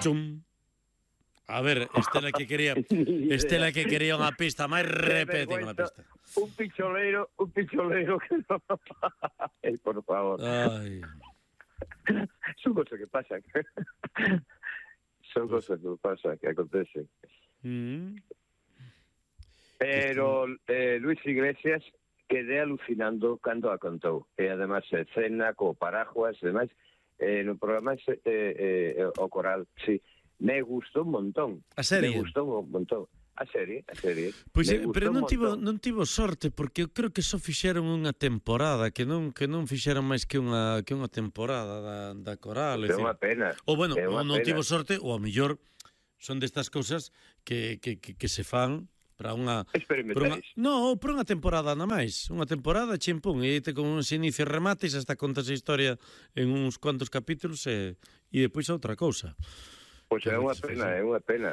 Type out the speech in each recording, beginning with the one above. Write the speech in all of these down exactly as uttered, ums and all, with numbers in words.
Chum. A ver, Estela que quería Estela que quería unha pista máis repete unha pista. Un picholeiro, un picholeiro que no... Ay, por favor. Ai. Son cosas que pasan. Son cosas que pasan, que acontecen. Mm. Pero eh, Luis Iglesias quedé alucinando cando a contou. E además eh, cena co paraguas e demais. Eh, no programa eh, eh, o coral, sí. Me gustou un montón. A serie? Me gustou un montón. A serie, a serie. Pois, Me pero non tivo, montón. non tivo sorte, porque eu creo que só fixeron unha temporada, que non que non fixeron máis que unha que unha temporada da, da coral. É unha pena. Ou bueno, é ou non pena. tivo sorte, ou ao mellor son destas cousas que, que, que, que se fan para unha... Experimentais. Non, para unha temporada na máis. Unha temporada, chimpún, e te con uns inicios e remates, hasta contas a historia en uns cuantos capítulos e, e depois outra cousa. Pois é unha pena, é unha pena,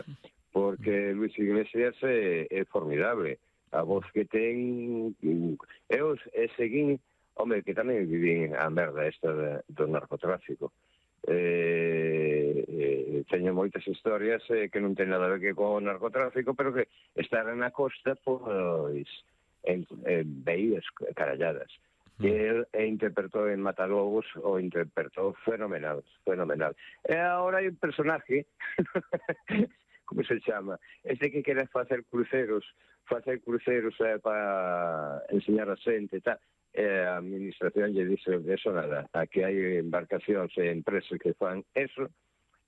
porque Luis Iglesias é, é formidable. A voz que ten... Eu e seguín... Home, que tamén vivín a merda esta de, do narcotráfico. Eh, eh, teño moitas historias eh, que non ten nada a ver que con o narcotráfico, pero que estar na costa, pois, en, en veías caralladas. Que el e interpretou en Matalobos, o interpretou fenomenal, fenomenal. E agora hai un personaje, como se chama, este que quere facer cruceros, facer cruceros eh, para enseñar a xente e tal, e a administración lle dice eso nada, aquí hai embarcacións e empresas que fan eso,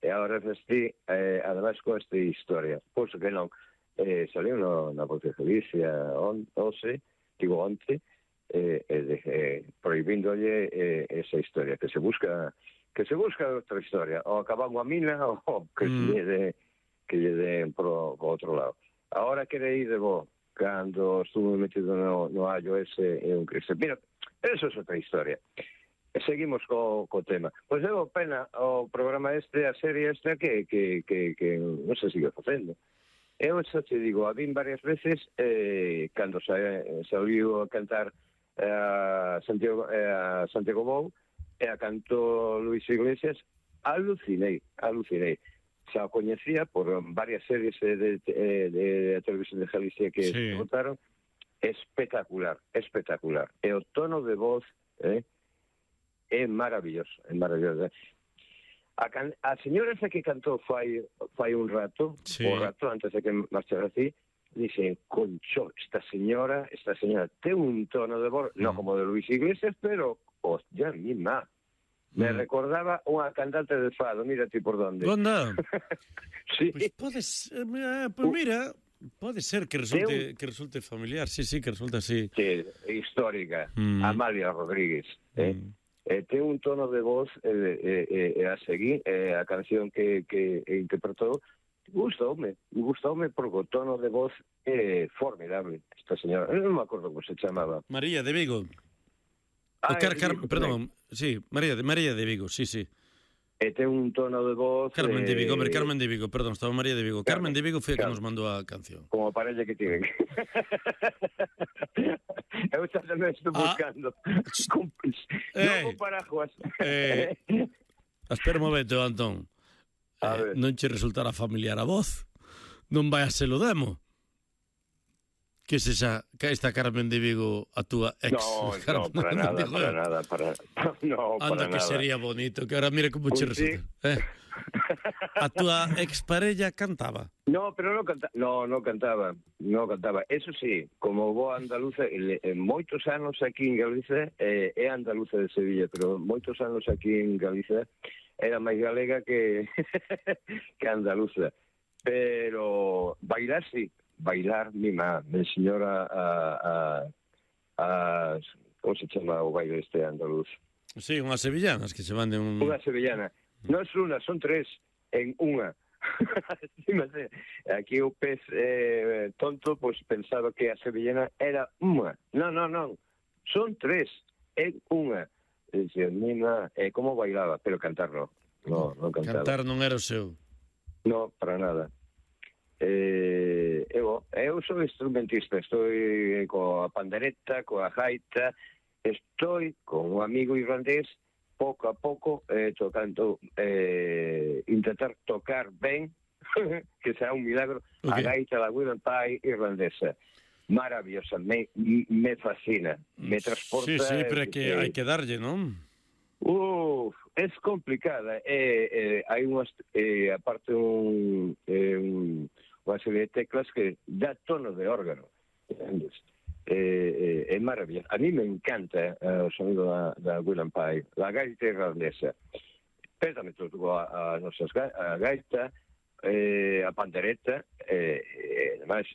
e agora vestí, eh, ademais con esta historia, pois que non, eh, saliu no, na Voz de Galicia, on, once, digo onte, Eh, eh, eh, prohibíndolle eh, esa historia, que se busca que se busca outra historia, ou acabar unha mina ou que mm. lle de, que lle den pro, pro outro lado. Ahora quere ir de bo, cando estuve metido no, no allo ese é un cristo. Mira, eso é outra historia. E seguimos co, co tema. Pois é pena o programa este, a serie esta que, que, que, que non se sigue facendo. Eu xa te digo, a vin varias veces eh, cando sa, saliu a cantar a Santiago, a Santiago Bou e a canto Luis Iglesias, alucinei, alucinei. Xa o coñecía por varias series de, de, de, de Televisión de Galicia que sí. Votaron. Espectacular, espectacular. E o tono de voz eh, é maravilloso, é maravilloso. A, can, a señora esa que cantou fai, fai un rato, sí. o rato antes de que marchara así, dicen, concho, esta señora, esta señora ten un tono de voz, mm. no como de Luis Iglesias, pero, hostia, misma. Me mm. recordaba unha cantante de fado, mira ti por donde. Onda? Sí. Pois podes, eh, pues mira, pode ser que resulte, un... que resulte familiar, sí, sí, que resulte así. Sí, histórica, mm. Amalia Rodríguez, eh. Mm. Eh, ten un tono de voz eh, eh, eh, a seguir, eh, a canción que, que interpretou, gustoume, gustoume porque o tono de voz é formidable, esta señora. Eu non me acordo como se chamaba. María de Vigo. Ah, Car, Car, perdón, sí, María de, María de Vigo, sí, sí. E ten un tono de voz... Carmen eh... de Vigo, hombre, Carmen de Vigo, perdón, estaba María de Vigo. Carmen, Carmen de Vigo foi a que nos mandou a canción. Como parella que tiven. Eu xa tamén estou buscando. Ah. Con... Eh. Non con paraguas. Eh. Espera un momento, Antón. Eh, non che resultará familiar a voz? Non vai a ser o demo? Que se xa, que esta Carmen de Vigo a túa ex? No, no, para nada, Vigo, para nada, para no, anda para que nada. Sería bonito, que ahora mira como che resulta. Sí. Eh? A túa ex parella cantaba? No, pero non cantaba, no, non cantaba, non cantaba. Eso sí, como boa andaluza, en moitos anos aquí en Galicia, eh, é andaluza de Sevilla, pero moitos anos aquí en Galicia era máis galega que que andaluza. Pero bailar sí, bailar mima, me enseñou a, a, a como se chama o baile este andaluz? Sí, unhas sevillanas que se van de un... Unha sevillana. Non é unha, son tres en unha. Aquí o pez eh, tonto pois pues, pensaba que a sevillana era unha. Non, non, non. Son tres en unha. E dicía, mima, eh, como bailaba, pero cantar non. No, non cantaba. Cantar non era o seu. No, para nada. Eh, eu, eu sou instrumentista, estou coa pandereta, coa gaita, estou con un amigo irlandés pouco a pouco eh, tocando, eh, intentar tocar ben, que será un milagro, okay. a gaita da William Pye irlandesa. Maravillosa, me, me fascina, me transporta... Sí, sí, pero é que hai que darlle, non? Uf, es complicada. Eh, eh, hai unhas, eh, aparte un, eh, un, unha serie de teclas que dá tono de órgano. Entendes? Eh, eh, é maravilloso. A mí me encanta eh, o sonido da, da William Pye, la gaita irlandesa. Pérdame todo a, a nosa a gaita, eh, a pandereta, e eh, demais.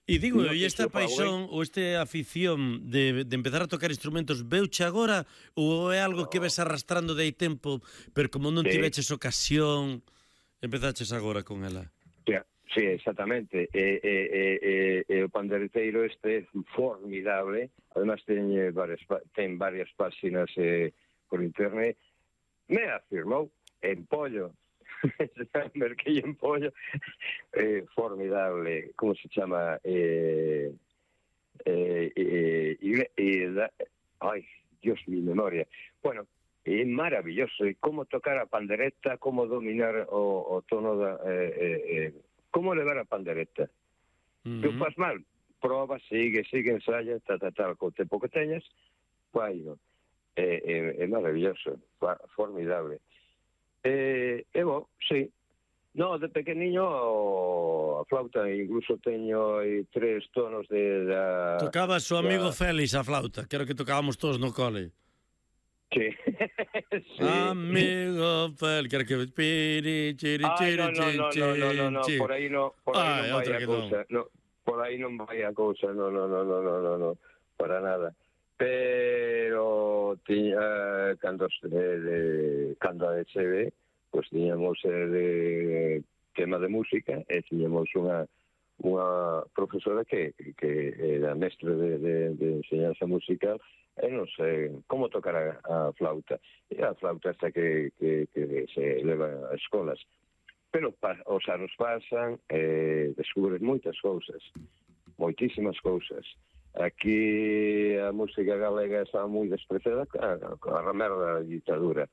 E digo, e esta paixón ou esta afición de, de empezar a tocar instrumentos veuche agora ou é algo que ves arrastrando de aí tempo, pero como non sí. tiveches ocasión, empezaches agora con ela? Sí, sí, exactamente. E, e, e, e, o pandereteiro este é formidable, además ten varias, ten varias páxinas eh, por internet. Me afirmou en pollo. Merquillo en pollo, eh, formidable, ¿cómo se llama? Eh, eh, eh, y, y da, ay, Dios, mi memoria. Bueno, es maravilloso, y cómo tocar a pandereta, cómo dominar o, o tono, da, eh, eh, cómo elevar a pandereta. Uh-huh. ¿Tú vas mal? Proba, sigue, sigue, ensaya, ta, ta, ta, con tempo que teñas, bueno, é eh, eh, maravilloso, formidable. Eh, e bo, sí. No, de pequeniño a flauta, incluso teño aí tres tonos de... Da, Tocabas o amigo da... Félix a flauta, que era que tocábamos todos no cole. Sí. sí. Amigo Félix, que era que... Piri, chiri, Ay, chiri, no, no, no, no, no, no, no, por aí no, por aí Ay, non vai a cousa. No. No, por aí non vai a cousa, no, no, no, no, no, no, no, para nada. Pero tiña, cando de, de cando a S B, pois tiñamos eh, de tema de música e tiñamos unha unha profesora que, que era mestre de, de, de enseñanza musical e non sei como tocar a, a flauta. E a flauta esta que, que, que se eleva a escolas. Pero pa, os anos pasan e eh, descubres moitas cousas, moitísimas cousas. Aquí a música galega estaba moi despreciada a ramerda da ditadura.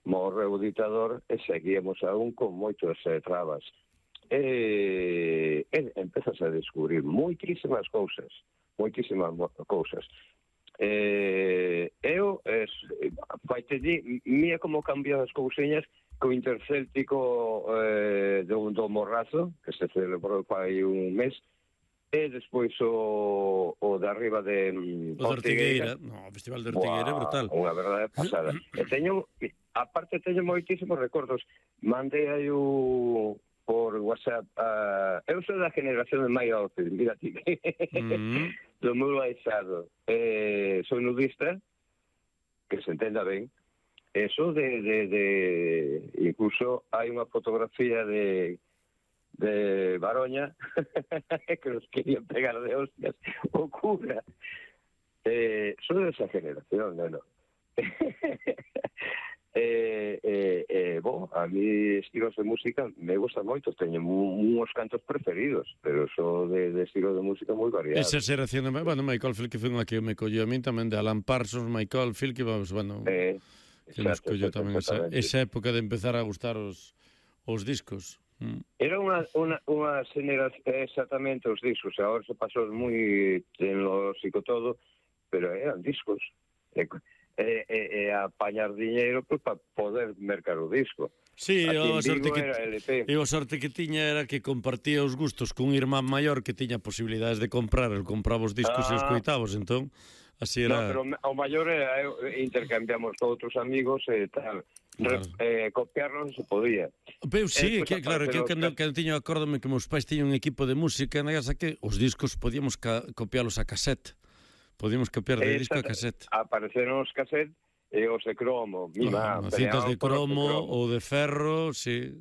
Morreu o ditador e seguíamos aún con moitas eh, trabas. E, e empezas a descubrir moitísimas cousas, moitísimas cousas. E, eu, es, vai te di, mía como cambian as cousiñas co intercéltico eh, do, do Morrazo, que se celebrou pai un mes, e despois o, o de arriba de o de Ortigueira. No, o Festival de Ortigueira é brutal. Unha verdade pasada. E teño, aparte teño moitísimos recordos. Mandei aí o, por WhatsApp a... Eu sou da generación de Mike Oldfield, mira ti. Mm-hmm. Do meu baixado. Eh, sou nudista, que se entenda ben. Eso de, de, de... Incluso hai unha fotografía de... de Baroña que nos querían pegar de hostias o cura. Eh, son de esa generación, no, no. eh, eh, eh, bo, a mí estilos de música me gustan moito, teño uns cantos preferidos, pero son de, de estilo de música moi variado. Esa xeración de, bueno, Michael Field que foi unha que me colleu a min tamén, de Alan Parsons, Michael Field que vamos, bueno, eh, que nos colleu tamén esa, esa época de empezar a gustar os, os discos. Mm. Era unha, unha, unha generación, exactamente os discos, agora se pasou moi tecnolóxico todo, pero eran discos. E, e, e, e apañar diñeiro pues, para poder mercar o disco. Sí, o sorte, que, e o sorte que tiña era que compartía os gustos cun irmán maior que tiña posibilidades de comprar, el compraba os discos ah. e os coitabos, entón así era... No, pero o maior era, intercambiamos con outros amigos e tal. Claro. Eh, copiarlo non se podía. Pero sí, eh, que, claro, que eu cando, cando tiño, acórdome que meus pais tiñan un equipo de música na casa que os discos podíamos ca, copiálos a cassette. Podíamos copiar de disco a cassette. Apareceron os cassette e os de cromo. Mima, no, cintas de cromo, de cromo ou de ferro, sí.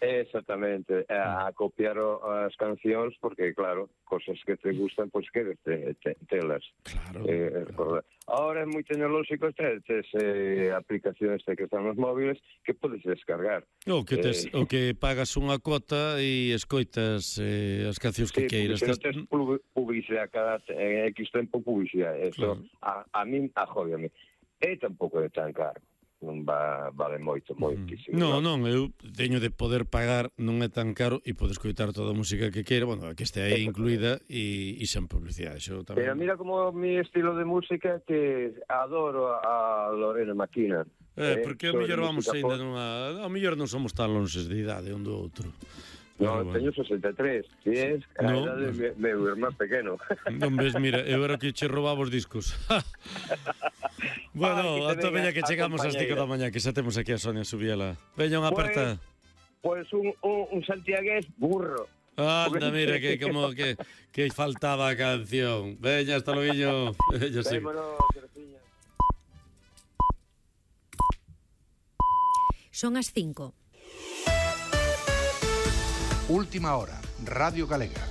Exactamente, a, a copiar as cancións porque, claro, cosas que te gustan, pois pues, queres te, te, telas. Claro, eh, claro. Ahora é moi tecnolóxico, tes eh, aplicacións que están nos móviles que podes descargar. O que, tes, eh, o que pagas unha cuota e escoitas eh, as cancións que sí, queiras. Sí, porque se non tes publicidade cada en X tempo publicidade. Eso, claro. a, a min ajódiame. E tampouco é tan caro. non va, vale moito, moitísimo. Non, non, eu teño de poder pagar, non é tan caro e podo escoitar toda a música que queira, bueno, que este aí incluída e, e sen publicidade. Xo tamén... Pero mira como mi estilo de música que adoro a Lorena Maquina. Eh, porque a mellor vamos ainda nunha... A mellor non somos tan lonxes de idade un do outro. No, bueno. Teño sesenta e tres, si es a no, edade de no. meu irmán pequeno. Non ves, mira, eu era que che roubaba os discos. Bueno, ata veña que chegamos ás cinco da mañá, que xa temos aquí a Sonia Subiela. Veña unha aperta. Pois pues un, un, un santiagués burro. Anda, mira, que como que, que faltaba a canción. Veña, hasta loguiño. Veña, sí. Vémonos, Terefiña. Son as cinco. Última hora, Radio Galega.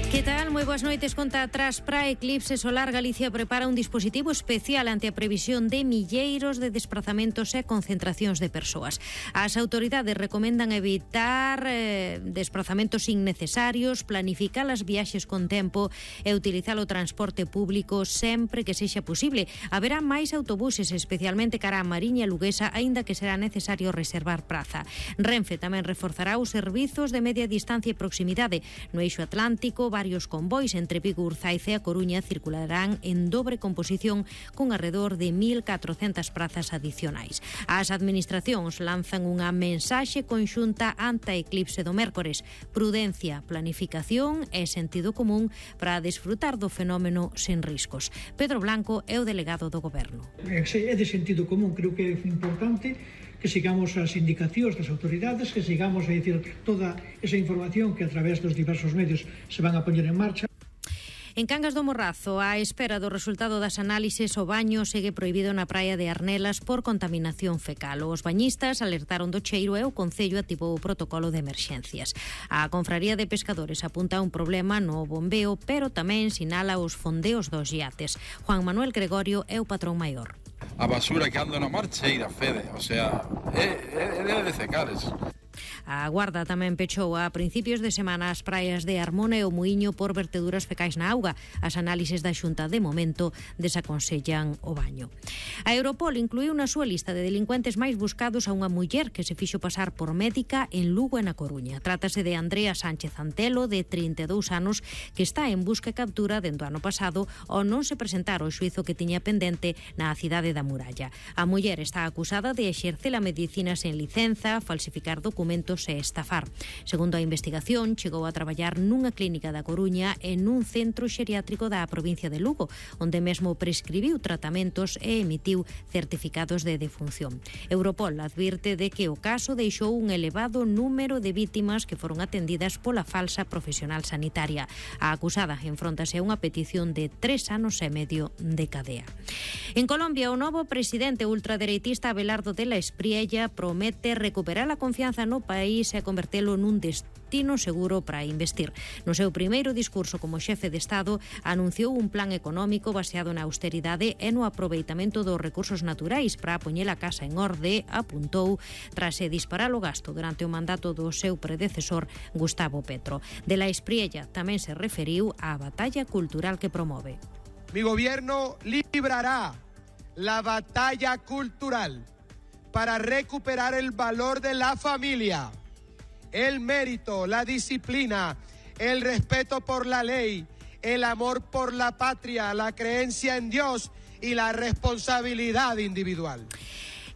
Que tal? Moi boas noites. Conta atrás para Eclipse Solar. Galicia prepara un dispositivo especial ante a previsión de milleiros de desplazamentos e concentracións de persoas. As autoridades recomendan evitar eh, desplazamentos innecesarios, planificar as viaxes con tempo e utilizar o transporte público sempre que sexa posible. Haberá máis autobuses, especialmente cara a Mariña e Luguesa, aínda que será necesario reservar praza. Renfe tamén reforzará os servizos de media distancia e proximidade. No eixo Atlántico, varios convois entre Vigo, Urzaiz e A Coruña circularán en dobre composición con alrededor de mil catrocentas prazas adicionais. As administracións lanzan unha mensaxe conxunta ante a eclipse do mércores: prudencia, planificación e sentido común para desfrutar do fenómeno sen riscos. Pedro Blanco é o delegado do Goberno. É de sentido común, creo que é importante que sigamos as indicacións das autoridades, que sigamos a dicir toda esa información que a través dos diversos medios se van a poñer en marcha. En Cangas do Morrazo, á espera do resultado das análises, o baño segue prohibido na praia de Arnelas por contaminación fecal. Os bañistas alertaron do cheiro e o Concello activou o protocolo de emerxencias. A Confraría de Pescadores apunta un problema no bombeo, pero tamén sinala os fondeos dos iates. Juan Manuel Gregorio é o patrón maior. A basura que anda na marcheira, Fede, o sea, é, é, é de secares. A Guarda tamén pechou a principios de semana as praias de Armona e o Muiño por verteduras fecais na auga. As análises da Xunta de momento desaconsellan o baño. A Europol incluiu na súa lista de delincuentes máis buscados a unha muller que se fixo pasar por médica en Lugo e na Coruña. Trátase de Andrea Sánchez Antelo, de trinta e dous anos, que está en busca e captura dende o ano pasado ao non se presentar o xuizo que tiña pendente na cidade da Muralla. A muller está acusada de exercer a medicina sen licenza, falsificar documentos e estafar. Segundo a investigación, chegou a traballar nunha clínica da Coruña e nun centro xeriátrico da provincia de Lugo, onde mesmo prescribiu tratamentos e emitiu certificados de defunción. Europol advirte de que o caso deixou un elevado número de vítimas que foron atendidas pola falsa profesional sanitaria. A acusada enfróntase a unha petición de tres anos e medio de cadea. En Colombia, o novo presidente ultradereitista Abelardo de la Espriella promete recuperar a confianza no país e convertelo nun destino seguro para investir. No seu primeiro discurso como xefe de Estado, anunciou un plan económico baseado na austeridade e no aproveitamento dos recursos naturais para poñer a casa en orde, apuntou, tras disparar o gasto durante o mandato do seu predecesor Gustavo Petro. De la Espriella tamén se referiu á batalla cultural que promove. Mi gobierno librará la batalla cultural para recuperar el valor de la familia, el mérito, la disciplina, el respeto por la ley, el amor por la patria, la creencia en Dios y la responsabilidad individual.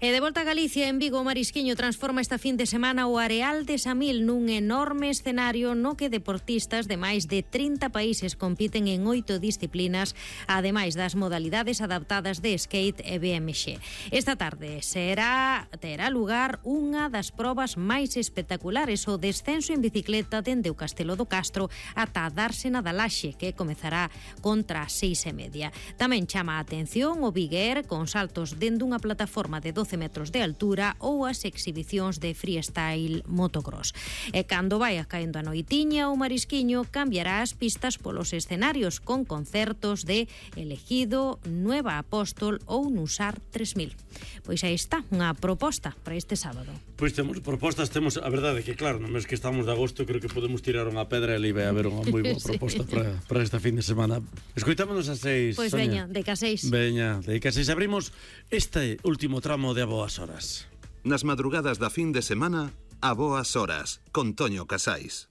E de volta a Galicia, en Vigo, o Marisquiño transforma esta fin de semana o Areal de Samil nun enorme escenario no que deportistas de máis de trinta países compiten en oito disciplinas, ademais das modalidades adaptadas de skate e B M X. Esta tarde será terá lugar unha das probas máis espectaculares, o descenso en bicicleta dende o Castelo do Castro ata a Dársena da Laxe, que comezará contra as seis e media. Tamén chama a atención o Big Air, con saltos dende unha plataforma de doce doce metros de altura ou as exhibicións de freestyle motocross. E cando vai caendo a noitiña, o Marisquiño cambiará as pistas polos escenarios con concertos de Elegido, Nueva Apóstol ou Nusar tres mil. Pois aí está, unha proposta para este sábado. Pois temos propostas, temos a verdade que claro, no mes que estamos de agosto creo que podemos tirar unha pedra e ali vai haber unha moi boa proposta sí. para, para esta fin de semana. Escoitámonos a seis, Pois Sonia. veña, de que a seis. Veña, de que a seis abrimos este último tramo de A Boas Horas. Nas madrugadas da fin de semana, A Boas Horas, con Toño Casais.